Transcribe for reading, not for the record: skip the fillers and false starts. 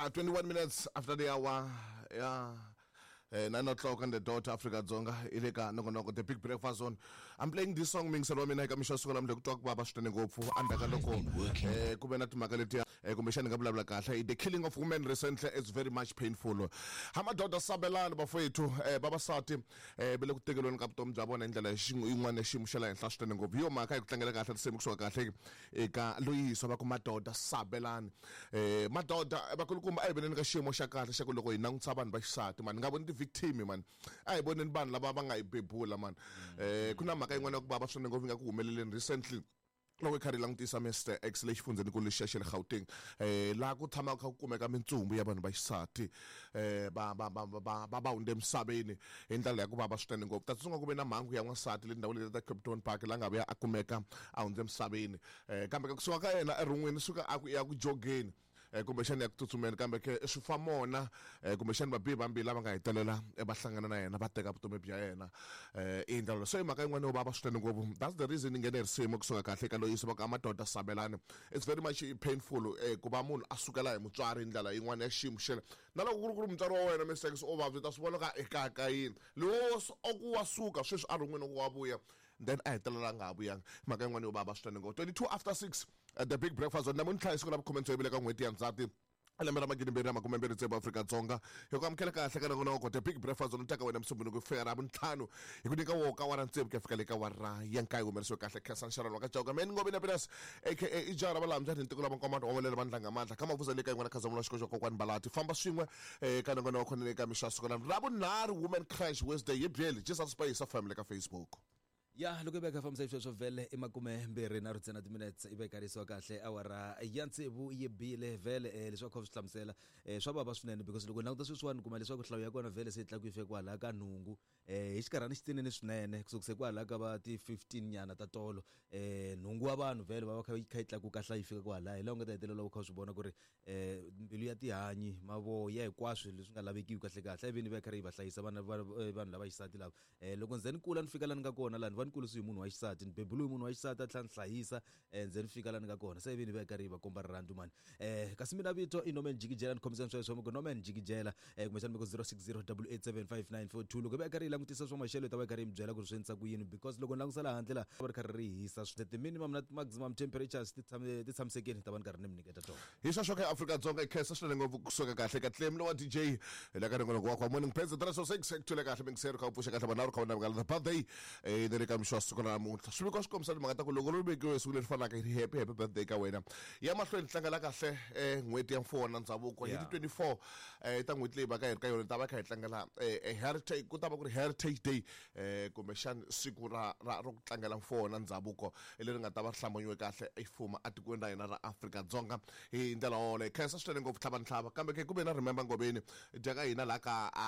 Yeah, 21 minutes after the hour. Yeah. 9 o'clock on the dot, Africa Dzonga, i le ka nongonoko The Big Breakfast Zone. I'm playing this song mingiselo wa mina eka mixo siku namuntlha ku twa ku vava swinene ngopfu endzhaku ka loko ku ve na timhaka letiya, kumbexani nga vulavula kahle, the killing of women recently is very much painful. Ha madoda sabelani bafowethu, vavasati va le ku tekeriweni ka vutomi bya vona hi ndlela yin'wana ya xiyimo xa le henhla swinene ngopfu. Hi yo mhaka hi ku tlangela kahle risimu kusuka kahle eka loyiso va ku madoda sabelani. Madoda vakulukumba, a hi voneni ka xiyimo xa kahle xa ku loko hi langutisa vanhu va xisati mani, nga voni ti-victim mani, a hi voneni vanhu lava va nga hi bebula mani. Ku na mhaka yin'wana ya ku vava swinene ngopfu yi nga ku humeleleni recently loko hi karhi hi langutisa Mr X le xifundzhenikulu lexiya xa le Gauteng, laha ku tshamaka kha ku kumeka mintsumbu ya vanhu va xisati, va va va va va va hundze emisaveni hi ndlela ya ku vava swinene ngopfu. Ta tsundzuka ku ve na mhangu ya n'wansati le tindhawini leti ta Kempton Park laha nga vuya a kumeka a hundze emisaveni, kambe ka kusuka ka yena erhun'wini suka a ku ya ku jogeni, kumbexani ya ku tsutsumeni, kambe ke swi fa mona, kumbexani vabihi vambirhi lava nga hetelela va hlangana na yena va teka vutomi bya yena i ndlela. So i mhaka yin'wana yo vava swinene ngopfu. That's the reason yi nghene hi risimu kusuka kahle eka loyiso va ku amadoda sabelani. It's very much painful ku va munhu a sukela hi mutswari hi ndlela yin'wana ya xiyimo xele, na loko ku ri ku ri mutswari wa wena mistakes o vabya, ta swi vona ka ekaya ka yini lowo o ku wa suka sweswi a rin'wini ku wa vuya, then a hetelela a nga ha vuyanga. Mhaka yin'wana yo vava swinene ngopfu. 22 after 6, The Big Breakfast Zone. Namuntlha hi siku ra vukhume tsevu le ka n'hweti ya Ndzhati lembe ra 2026 Afrika-Dzonga. Hi ku amukela kahle ka nongonoko The Big Breakfast Zone, taka wena Musumbhunuku ku fika ra vuntlhanu, hi ku nyika wo ka wara tsevu ku ya fika le ka wara ya nkaye. Humelerisiwe kahle Khensa Nxarani wa ka Chauke Man Ngobi na Pinas aka Ijara Valambya ni ntiko la vankomando wa valele vandlanga mandla ka mavuza le ka yin'wana khazamulo xiko xa kokwani Balati famba swin'we ka nongonoko ni le ka mixo ya siku ra vunharhu, Women Crash Wednesday, hi byeli Jesus Space family ka Facebook. Ya loko i veka fambisa sweswo vhele i makume mbirhi na rhutsena timinutes i vekarisiwa kahle awara ya tsevu yi bile vhele. Leswi va kha swi hlamusela, swa vava swinene because loko languta sweswiwani kuma leswaku nhlayo ya kona vhele se yi tlakuke yi fika kwalaya ka nhungu, hi xikarhana xitsinini swinene kusukise kwalaya ka va ti 15 nyana ta tolo. Nhungu wa vanhu vhele va va kha yi kha yi tlakuka hlayo yi fika kwalaya, hi laha u nga ta hetelela u kha u swi vona ku ri mbilu ya tihanyi, mavoya, hinkwaswo leswi nga lavekiwi kahle kahle ivi ni va yi karhi yi va hlayisa vana va vanhu lava xisati lava. Loko nze ni kula ni fika la ni nga kona lani, va ni kurisiwe hi munhu wa xisati, ni bebuliwe hi munhu wa xisati a tlhela ni hlayisa, nze ni fika la ni nga kona, se ivi ni va yi karhi yi va komba rirhandzu mani. Kasi mina vito i Norman Jikijela, ni khomisani sweswo mi ku Norman Jikijela, kumbexana mi ku 060 875 942. Loko hi va yi karhi yi langutisa swa maxelo, hi ta va yi karhi yi mi byela ku ri swi endlisa ku yini, because loko ni langutisa laha handle laha va ri karhi ri hisa ti-minimum na ti-maximum temperatures ti tshame ti tshamisekile, ni ta va ni karhi ni mi nyiketa tona. Hi sweswo ka Afrika-Dzonga, hi khensa swinene ngopfu kusuka kahle ka Clem lowa DJ hi le ka nongonoko wa kwa Morning Pens 306 ku thule kahle mingiseri kha u pfuxa kahle vanharhu kha u navukala the birthday, ni le ka mixo wa siku ra namuntlha. Swiviko swi kombisa timhaka ta ku loko ri vekiwe siku leri fanaka hi ri happy happy birthday ka wena. Ya mahlweni tlangela kahle n'hweti ya mfuwo na ndzhavuko hi ti 24 ta n'hweti leyi va ka hi ri ka yona, ta va kha hi tlangela heritage, ku ta va ku ri Heritage Day, kumbexani siku ra ra ro ku tlangela mfuwo na ndzhavuko leri nga ta va ri hlambanyiwe kahle i fuma etikweni ra hina ra Afrika-Dzonga hi ndlela yoleyo. Khensa swinene ngopfu tlhava ntlhava, kambe ke ku ve na Remember Ngobeni dya ka hina laha ka a